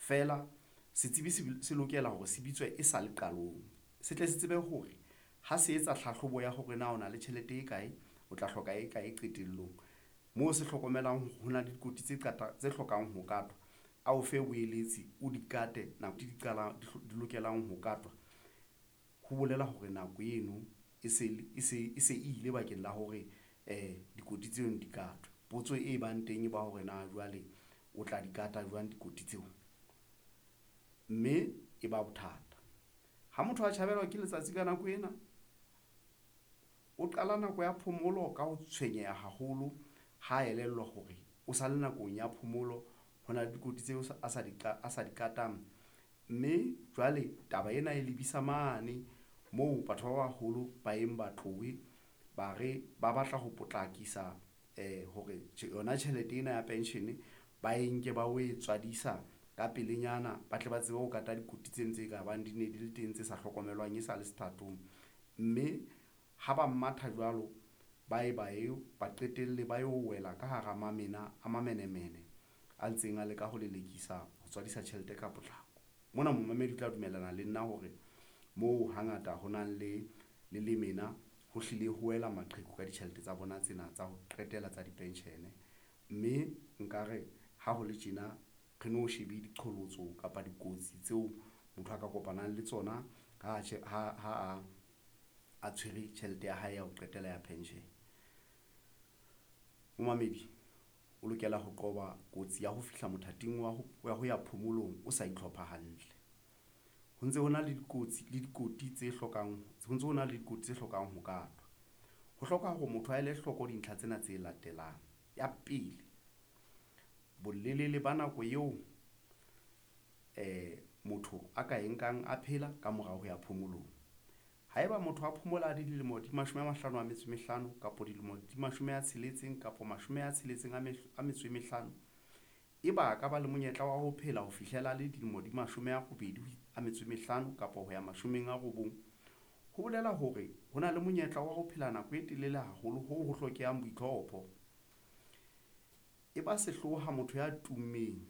Feela setsebi se lokela hore se bitswe e sale qalong, se tle se tsebe hore ha se etsa tlhahlobo ya hore na o na le tjhelete e kae, o tla hloka e kae qetellong. Moo se hlokomelang hore hona le dikotsi tse ngata tse hlokang ho katwa, a o fe boeletsi o di kate nako di qalang di lokelang ho katwa. Ho bolela hore nako eno e se e se e se ile bakeng la hore dikoti tseno di katwe. Potso e bang teng e ba hore na jwale o tla di kata jwang dikoti tseo, mme e ba bothata. Ha motho a tjhabelwa ke letsatsi ka nako ena, o qala nako ya phomolo ka ho tshwenyeha haholo ha elellwa hore o sa le nakong ya phomolo, ho na le dikotsi tseo a sa di a sa di katang, mme jwale taba ena e lebisa mane moo batho ba baholo ba eng ba tlohe ba re ba batla ho potlakisa hore yona tjhelete ena ya pension ba e nke ba o e tswadisa ka pelenyana, ba tle ba tsebe ho kata dikotsi tseno tse ka bang di ne di le teng tse sa hlokomelwang e sale sethatong, mme ha ba matha jwalo, ba e ba eo ba qetelle ba yo wela ka hara mamena a mamenemene a ntseng a leka ho lelekisa ho tswadisa tjhelete ka potlako. Mona momamedi o tla dumellana le nna hore moo hangata ho nang le lemena ho hlile ho wela maqheku ka ditjhelete tsa bona tsena tsa ho qetela tsa di-pension, mme nkare ha ho le tjena re no shebe diqholotso kapa dikotsi tseo motho a ka kopanang le tsona ha a tshwere tjhelete ya hae ya ho qetela ya pension. Momamedi o lokela ho qoba kotsi ya ho fihla mothating wa ho ya phomolong, o sa itlhopha hantle. Ho ntse ho na le dikotsi le dikoti tse hlokang ho ntso na le dikotsi tse hlokang ho katwa. Ho hloka hore motho a ele hloko dintlha tsena tse latelang. Ya pele, bolelele ba nako eo motho a ka e nkang a phela ka morao ho ya phomolong. Haeba motho a phomola a dilemo di 55 kapa dilemo di 60 kapa 65, eba a ka ba le monyetla wa ho phela ho fihlela le dilemo di 85 kapa ho ya 90. Ho bolela hore ho na le monyetla wa ho phela nako e telele haholo hoo ho hlokehang boitlhopho. E ba sehloho ha motho ya tummeng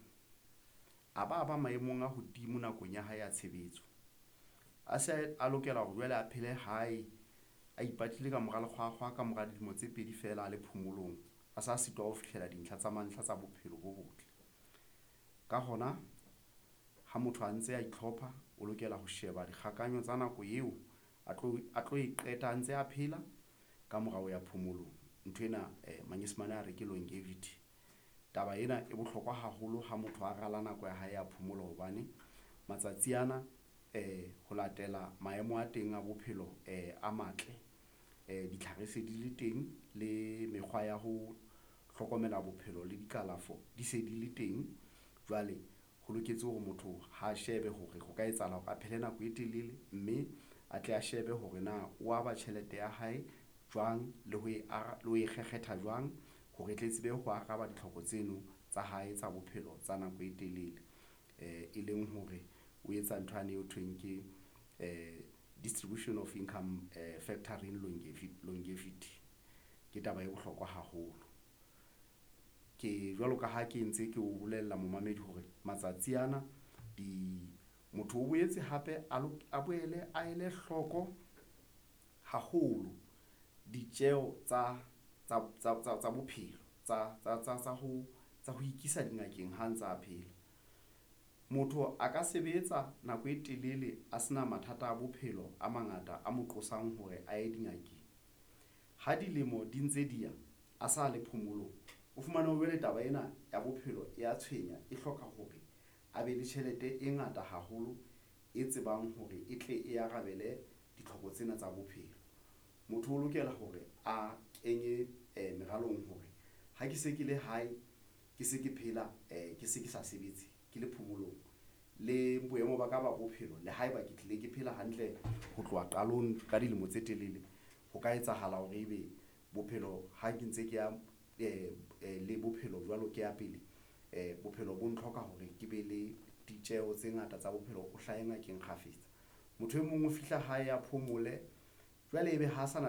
a ba maemong a hodimo nakong ya hae ya tshebetso, a se a lokela hore jwale a phele hae, a ipatile ka mora lekgwakgwa ka mora dilemo tse pedi feela a le phomolong, a sa sitwa ho fihlela dintlha tsa mantlha tsa bophelo bo botle. Ka hona ha motho a ntse a itlhopha, o lokela ho sheba dikgakanyo tsa nako eo a tlo e qeta a ntse a phela ka morao ya phomolong. Nthwena Manyesemane a re ke longevity. Taba ena e bohlokwa haholo ha motho a rala nako ya hae ya phomolo hobane matsatsi ana ho latela maemo a teng a bophelo a matle, ditlhare se di le teng le mekgwa ya ho hlokomela bophelo le dikalafo di se di le teng. Jwale ho loketse hore motho ha shebe hore ho ka etsahala hore a phele nako e telele, mme a tle a shebe hore na o aba tjhelete ya hae jwang le ho e le ho e kgekgetha jwang hore e tle tsebe ho araba ditlhoko tseno tsa hae tsa bophelo tsa nako e telele, e leng hore o etsa nthwane eo thweng ke distribution of income factoring longevity. Ke taba e bohlokwa haholo. Ke jwalo ka ha ke ntse ke o bolella momamedi hore matsatsi ana di motho o boetse hape a boele a ele hloko haholo ditjeho tsa bophelo tsa ho ikisa dingakeng ha ntsa phela. Motho a ka sebetsa nako e telele a se na mathata a bophelo a mangata a mo qosang hore a ye dingakeng. Ha dilemo di ntse di ya a sa le phomolong, o fumane jwale taba ena ya bophelo e ya tshwenya, e hloka hore a be le tjhelete e ngata haholo e tsebang hore e tle e arabele ditlhoko tsena tsa bophelo. Motho o lokela hore a kenye meralong hore ha ke se ke le hae, ke se ke phela, ke se ke sa sebetse ke le phomolong le boemo ba ka ba bophelo le haeba ke tlile ke phela hantle ho tloha qalong ka dilemo tse telele, ho ka etsahala hore ebe bophelo ha ke ntse ke ya le bophelo jwalo ke ya pele bophelo bo ntlhoka hore ke be le ditjeho tse ngata tsa bophelo, o hlahe ngakeng kgafetsa. Motho e mong o fihla hae a phomole jwale ebe ha a sa na.